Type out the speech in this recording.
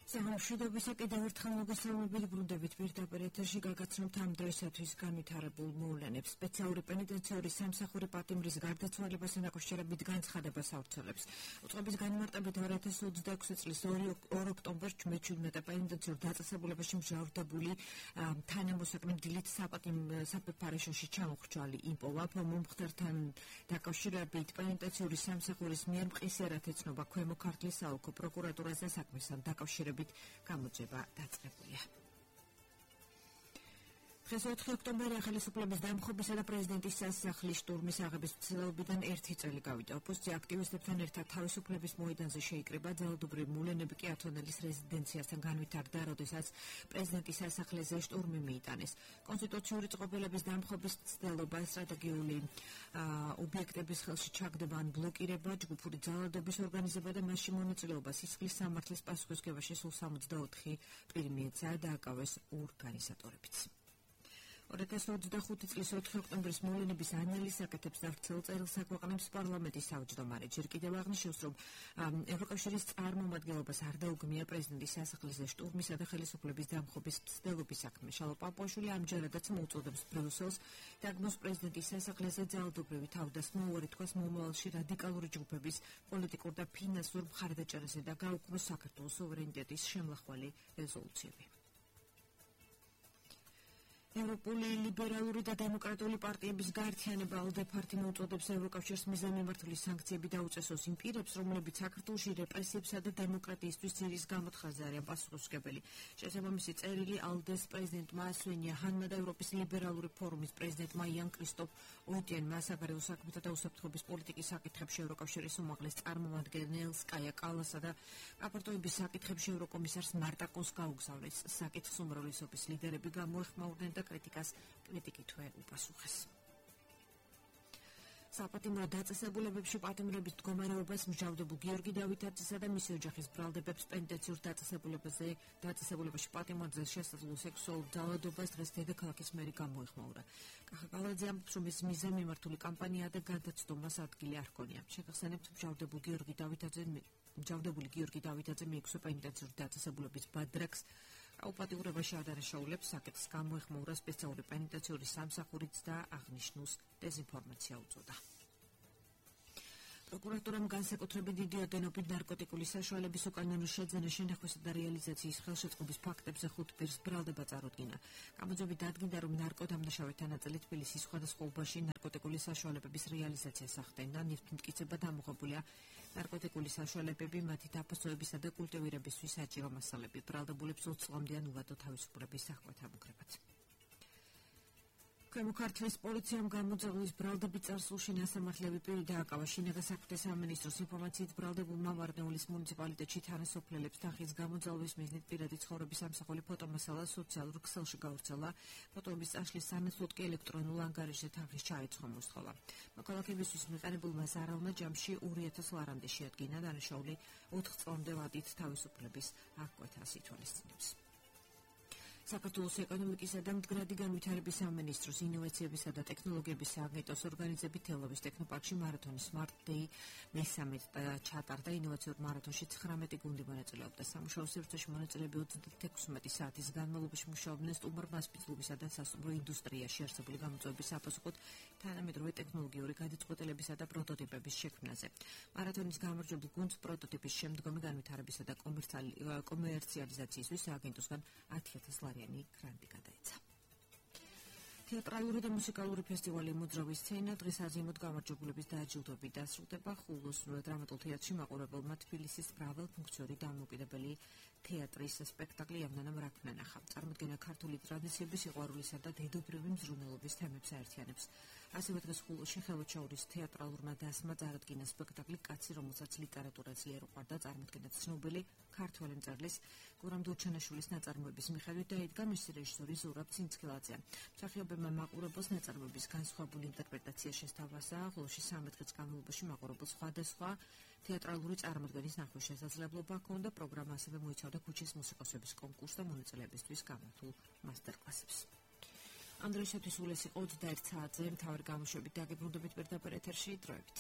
სამშვიდობისა კიდევ ერთხელ მოგესალმებით ბრუნდებით პირდაპირ ეთერში გაგაცნობთ ამ დღესათვის განვითარებულ მოვლენებს. სპეციალური პენიტენციური სამსახური პატიმრის გარდაცვალებასთან დაკავშირებით განცხადებას ავრცელებს. უწყების განმარტებით 2026 წლის 2 ოქტომბერს 17 პენიტენციურ დაწესებულებაში მჟავდებული თანამოსაკლე დილით საპეპარაშოში ჩამოხრჩალი იმპოვა მომხდართან დაკავშირებით პენიტენციური სამსახურის მიერ მყისიერად ეცნობა ქვემო ქართლის საოლქო პროკურატურაზე საქმესთან დაკავშირებით გამოძიება დაწყებულია. დღეს 4 ოქტომბერი ხელისუფლების დამხობისა და პრეზიდენტის სასახლის შტურმის აღების ცდილობიდან 1 წელი გავიდა. ოპოზიცია აქტივისტებთან ერთად თავისუფლების მოედანზე შეიკრიბა, ძალადობრივი მოვლენები კი ათონელის რეზიდენციასთან განვითარდა, როდესაც პრეზიდენტის სასახლეზე შტურმი მიიტანეს. კონსტიტუციური წყობილების დამხობის ცდილობა, სტრატეგიული ობიექტების ხელში ჩაგდება ან ბლოკირება, ჯგუფური ძალადობის ორგანიზება და მასში მონაწილეობა სისხლის სამართლის პასუხისმგებაში სულ 64 პირი მიეცა და აკავეს ორგანიზატორებიც. 2025 წლის 4 ოქტომბრის მოვლენების ანალიზს აკეთებს და ვრცელ წერილს აქვეყნებს პარლამენტის თავმჯდომარე. ჯერ კიდევ აღნიშნავს, რომ ევროკავშირის წარმომადგენლობას არ დაუგმია პრეზიდენტის სასახლეზე შტურმისა და ხელისუფლების დამხობის მცდელობის საქმე. შალო პაპუაშვილი ამჯერადაც მოუწოდებს ბრიუსელს დაგმოს პრეზიდენტის სასახლეზე ძალადობრივი თავდასხმა, უარი თქვას მომავალში რადიკალური ჯგუფების პოლიტიკურ და ფინანსურ მხარდაჭერაზე და გაუქმოს საქართველოს სუვერენიტეტის შემლახველი რეზოლუციები. ევროპული ლიბერალური და დემოკრატიული პარტიების გაერთიანება ALDE პარტია მოუწოდებს ევროკავშირს მიზანმიმართული სანქციები დაუწესოს იმ პირებს, რომლებიც საქართველოში რეპრესიებსა და დემოკრატიისთვის ძირის გამოთხაზე არიან პასუხისმგებელი. შესაბამისი წერილი ALDE-ს პრეზიდენტმა სვენია ჰანმა და ევროპის ლიბერალური ფორუმის პრეზიდენტმა იან კრისტოფ ოიტენმა საგარეო საქმეთა და უსაფრთხოების პოლიტიკის საკითხებში ევროკავშირის უმაღლეს წარმომადგენელს კაია კალასა და რაპორტოების საკითხებში ევროკომისარს მარტაკოს გაუგზავნეს. საკითხს უმრავლესობის ლიდერები გამოეხმაურნენ და კრიტიკითვე უპასუხეს. საპატიმრო დაწესებულებებში პატიმრების მდგომარეობას მსჯავრდებულ გიორგი დავითაძესა და მისი ოჯახის ბრალდებებს პენიტენციურ დაწესებულებაში პატიმრაზე შესაძლო სექსუალურ ძალადობას დღეს დედაქალაქის მერი გამოეხმაურა. კახა კალაძე ამბობს, რომ ეს მიზანმიმართული კამპანია და გადაცდომას ადგილი არ ჰქონია. შეგახსენებთ, მსჯავრდებული გიორგი დავითაძე მიექვსო პენიტენციურ დაწესებულების ბადრაკს აუპატიურებაში ადარაშაულებს საკითხს გამოეხმაურა სპეციალური პენიტენციური სამსახურიც და აღნიშნულს დეზინფორმაცია უწოდა. პროკურატურამ განსაკუთრებით დიდი ოდენობით ნარკოტიკული საშუალების უკანონო შეძენა, შენახვისა და რეალიზაციის ხელშეწყობის ფაქტებზე 5 პირს ბრალდება წარუდგინა. გამოძიებით დადგინდა, რომ ნარკოდამნაშავეთა ნაწილი თბილისის სხვადასხვა უბანში ნარკოტიკული საშუალებების რეალიზაციას ახდენდა. ნივთმტკიცება დამოღებულია ნარკოტიკული საშუალებები, მათი დაფასოებისა და კულტივირებისთვის საჭირო მასალები. ბრალდებულებს 20 წლამდეან უვადო თავისუფლების სახვეთ ამუქრებათ. ქვემო ქართლის პოლიციამ გამოძიების ბრალდებით წარსულში ნასამართლები პირი დააკავა. შინაგან საქმეთა სამინისტროს ინფორმაციით ბრალდებულმა ვარდნეულის მუნიციპალიტეტში თანასოფლელებს თანხის გამოძალვის მიზნით პირადი ცხოვრების ამსახველი ფოტომასალა სოციალურ ქსელში გავრცელა. ფოტოების წაშლის სანაცვლოდ კი ელექტრონულ ანგარიშზე თანხის ჩაეცხვა მოსთხოვა. მოქალაქეებისთვის მიყენებულმა ზარალმა ჯამში 2000 ლარამდე შეადგინა. დანაშაული 4 წლამდე ვადით თავისუფლების აღკვეთას ითვალისწინებს. საქართველოს ეკონომიკისა და მდგრადი განვითარების სამინისტროს ინოვაციებისა და ტექნოლოგიების სააგენტოს ორგანიზებით თელავის ტექნოპარკში მარათონის Smart Day მესამე ჩატარდა. ინოვაციურ მარათონში 19 გუნდი მონაწილეობდა. სამუშაო სივრცეში მონაწილეები 36 საათის განმავლობაში მუშაობდნენ სტუმარ-მასპინძლობისა და სასტუმრო ინდუსტრიაში არსებული გამოწვევების საპასუხოდ თანამედროვე ტექნოლოგიური გადაწყვეტილებისა და პროტოტიპების შექმნაზე. მარათონის გამარჯვებულ გუნდს პროტოტიპის შემდგომი განვითარებისა და კომერციალიზაციისთვის სააგენტოსგან 10,000 ლარიანი გრანტი გადაეცა. თეატრალური და მუსიკალური ფესტივალი მოძრავი სცენა დღეს აზიმოდ გამარჯვებულების დააჯილდოებით დასრულდება. ხულოს დრამატულ თეატრში მაყურებელმა თბილისის მრავალ ფუნქციური დამოუკიდებელი თეატრის სპექტაკლი ამდენამ რა ქნანახა. წარმოდგენა ქართული ტრადიციების სიყვარულისა და დედობრივი მზრუნველობის თემებს აერთიანებს. ასევე დღეს ხულოში ხელვაჩაურის თეატრალურმა დასმა წარადგინა სპექტაკლი კაცი, რომელსაც ლიტერატურა ძლიერ უყვარდა. წარმოდგენა ცნობილი ქართველი მწერლის გურამ დურჩენაშვილის ნაწარმოების მიხედვით დაიდგა მისი რეჟისორი ზურაბ ცინცქილაძე. მსახიობებმა მაყურებელს ნაწარმოების განსხვავებული ინტერპრეტაცია შესთავაზა. ხულოში 13 დღის განმავლობაში მაყურებელს სხვადასხვა თეატრალური წარმოდგენის ნახვის შესაძლებლობა ჰქონდა. პროგრამა ასევე მოიცავდა ქუჩის მუსიკოსების კონკურსს და მონაწილეებისთვის გამართულ მასტერკლასებს. ამ დროისათვის სულ ეს იყო 21 საათზე მთავარი გამოშვებით. დაგიბრუნდებით პირდაპირ ეთერში დროებით.